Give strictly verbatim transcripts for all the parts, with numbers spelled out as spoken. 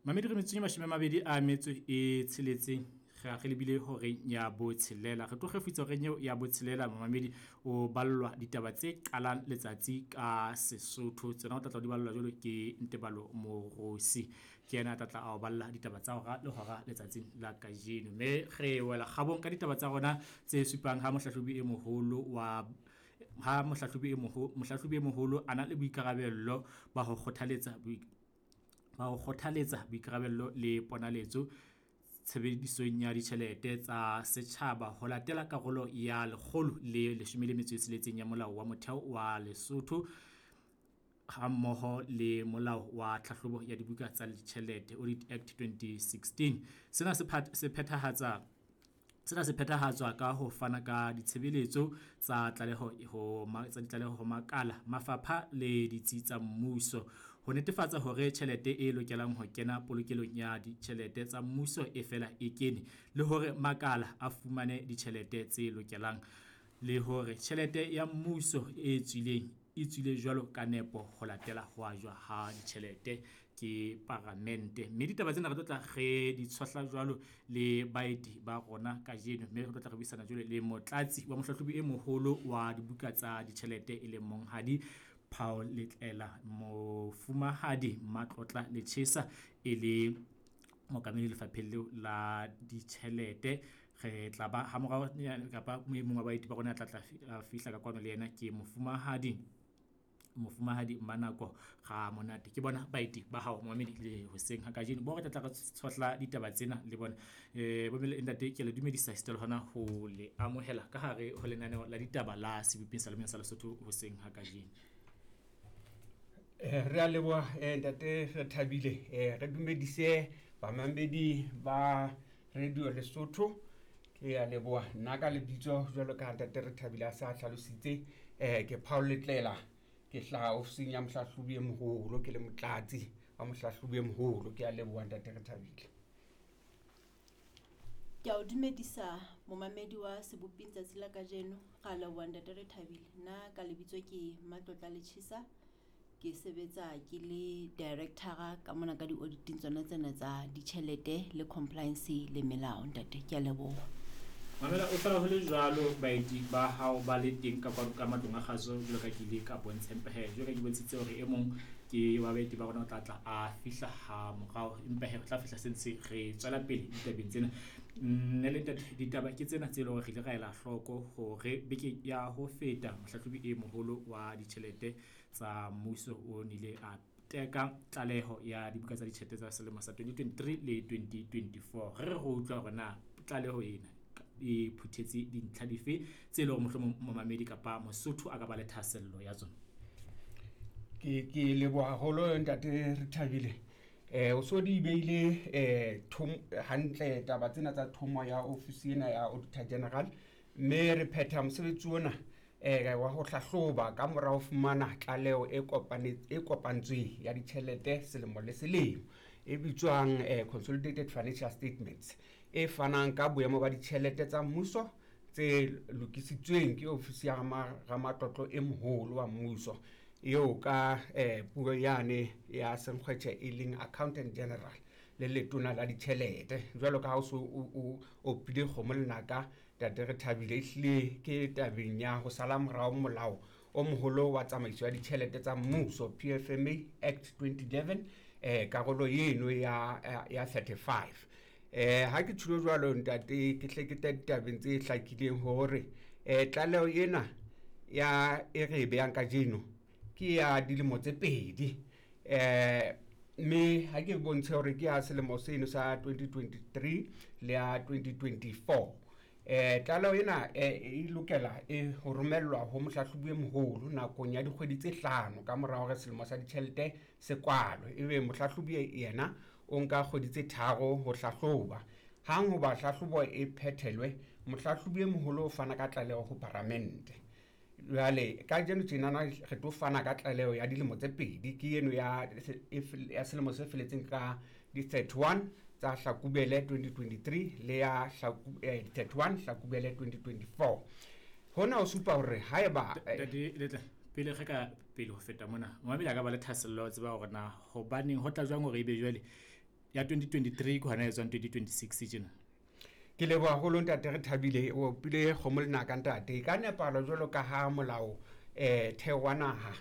Mamedi re metsotso e mashome a mabedi a metso e tsheletseng re re lebile horeng ya botshelela. Re tlo kgefutsa horeng eo ya botshelela momamedi o ballwa ditaba tse qalang letsatsi ka Sesotho. Tsona o tla tla di ballwa jwalo ke Ntebalo Morosi. Ke yena a tla tla a o balla ditaba tsa hora le hora letsatsing la kajeno. Mme re wela kgabong ka ditaba tsa rona tse supang ha mohlahlobi e moholo wa ha mohlahlobi e moholo mohlahlobi e moholo a na le boikarabello ba ho kgothaletsa ba ho kgothaletsa boikarabello le ponaletso tshebedisong ya ditjhelete tsa setjhaba ho latela karolo ya lekgolo le leshome le metso e tsheletseng ya Molao wa Motheo wa Lesotho hammoho le Molao wa Tlhahlobo ya Dibuka tsa Ditjhelete Audit Act twenty sixteen. Sena se se phethahatsa sena se phethahatswa ka ho fana ka ditshebeletso tsa tlaleho ho tsa ditlaleho ho makala, mafapha le ditsi tsa mmuso ho netefatsa hore tjhelete e lokelang ho kena polokelong ya ditjhelete tsa mmuso e fela e kene, le hore makala a fumane ditjhelete tse lokelang, le hore tjhelete ya mmuso e tswileng e tswile jwalo ka nepo ho latela ho ajwa ha ditjhelete ke paramente. Mme ditaba tsena re tlo tla re di tshohla jwalo le baeti ba rona kajeno, mme re tlo tla re buisana jwalo le motlatsi wa mohlahlobi e moholo wa dibuka tsa ditjhelete e leng Monghadi Paul Letlela, Mofumahadi Matlotla Lechesa e le mookamedi lefapheng leo la ditjhelete. Re tla ba ha morao kapa e mong wa baeti ba rona a tla tla fihla ka kwano le yena ke Mofumahadi Mofumahadi Mmanako Ramonate. Ke bona baeti ba hao momamedi le hoseng ha kajeno bo re tla tla re tshohla ditaba tsena le bona. Eh bomme le ntate, ke le dumedisa esita le hona ho le amohela ka hare ho lenaneo la ditaba la Seboping sa Lemong sa Lesotho hoseng ha kajeno. Eh re a leboha ntate, re thabile. Eh re dumedise bamamedi ba Radio Lesotho. Ke a leboha nna ka lebitso jwalo ka ntate re thabile a sa hlalositse. Eh ke Paul Letlela, ke hlaha ofising ya mohlahlobi e moholo, ke le motlatsi wa mohlahlobi e moholo. Ke a leboha ntate re thabile. Ke a o dumedisa momamedi wa Seboping tsatsi la kajeno. Ra leboha ntate re thabile. Nna ka lebitso ke Matlotla Lechesa, ke sebetsa ke le director ka mona ka di-auditing tsona tsena tsa ditjhelete le compliance le melao ntate. Ke a leboha. Mamela, o fela ho le jwalo baeti ba hao ba le teng ka kwano ka matlong a kgaso jwalo ka ke ile ka bontsha, empa he jwalo ka ke bontshitse hore e mong ke wa baeti ba rona o tla tla a fihla ha morao, empa he re tla fihla se ntse re tswela pele ditabeng tsena. Nne le ntate, ditaba ke tsena tse leng hore re ile ra ela hloko hore beke ya ho feta mohlahlobi e moholo wa ditjhelete tsa mmuso o nile a teka tlaleho ya dibuka tsa ditjhelete tsa selemo sa twenty twenty-three le twenty twenty-four. Re re go utlwa hore na tlaleho ena e phuthetse dintlha dife tse leng hore mohlomong momamedi kapa Mosotho a ka ba le thahasello ya tsona. Ke ke leboha haholo ntate re thabile. Eh o so di beile eh thom hantle taba tsena tsa thomo ya ofisi ena ya Auditor General, mme re phetha mosebetsi ona eh wa ho hlahloba ka mora ho fumana tlaleho e kopane e kopantsweng ya ditjhelete selemo le selemo e bitswang eh Consolidated Financial Statements, e fanang ka boemo ba ditjhelete tsa mmuso tse lokisitsweng ke ofisi ya Ramatlotlo e moholo wa mmuso eo ka eh puo yane ya Senkgwetjhe e leng Accountant General le letona la ditjhelete. Jwalo ka ha o so o opile kgomo lenaka ntate re thabile, ehlile ke tabeng ya ho sala morao molao o moholo wa tsamaiso ya ditjhelete tsa mmuso P F M A Act twenty eleven eh karolo eno ya ya thirty-five. Eh ha ke tjho jwalo ntate, ke hle ke ditabeng tse hlakileng hore eh tlaleho ena ya e re behang kajeno ke ya dilemo tse pedi. Eh mme ha ke bontshe hore ke ya selemo seno sa twenty twenty-three le ya twenty twenty-four. Eh tlaleho ena e lokela e ho romellwa ho mohlahlobi e moholo nakong ya dikgwedi tse hlano ka mora hore selemo sa ditjhelete se kwalwe, ebe mohlahlobi yena o nka kgwedi tse tharo ho hlahloba. Hang hoba hlahlobo e phethelwe, mohlahlobi e moholo o fana ka tlaleho ho paramente. Jwale kajeno tjenana re tlo fana ka tlaleho ya dilemo tse pedi, ke eno ya ya selemo se feletseng ka di thirty-one tsa Hlakubele twenty twenty-three le ya thirty-one Hlakubele twenty twenty-four. Hona ho supa hore haeba ntate Letla pele re ka pele ho feta mona, momamedi a ka ba le thahasello ya ho tseba hore na hobaneng ho tla jwang hore ebe jwale Ya twenty twenty-three ke hona e tswang twenty twenty-six tjena. Ke leboha haholo ntate Rethabile, o opile kgomo lenaka ntate. Ka nepahalo jwalo ka ha molao eh theo wa naha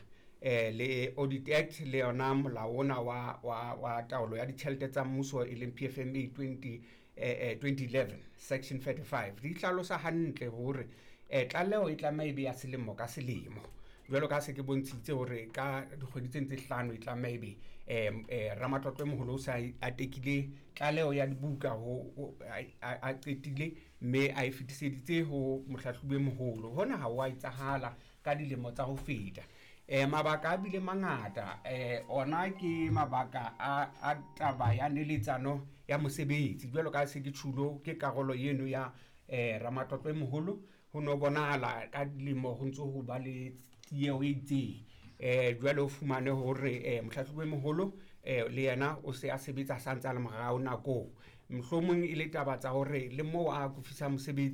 eh le Audit Act le yona molao ona wa wa wa taolo ya ditjhelete tsa mmuso e leng P F M A twenty, eh, eh, twenty eleven section thirty-five di hlalosa hantle hore eh tlaleho e tlameha e be ya selemo ka selemo. Jwalo ka se ke bontshitse hore ka dikgwedi tse ntse hlano e tlameha ebe, eh, eh, ramatlotlo e moholo o sa a tekile tlaleho ya dibuka ho, ho, a, a, a qetile mme a e fetiseditse ho mohlahlobi e moholo. Hona ha wa etsahala ka dilemo tsa ho feta. Eh, mabaka a bile mangata, eh, ona ke mabaka a, a taba ya neletsano ya mosebetsi. Jwalo ka se ke tjhulo ke karolo eno ya, eh, ramatlotlo e moholo, ho no bonahala ka dilemo ho ntso ho ba le tieho e itseng. Eh, jwale o fumane hore, eh, mohlahlobi e moholo, eh, le yena o se a sebetsa sa ntse a le morao nakong. Mohlomong e le taba tsa hore le moo a akofisa mosebetsi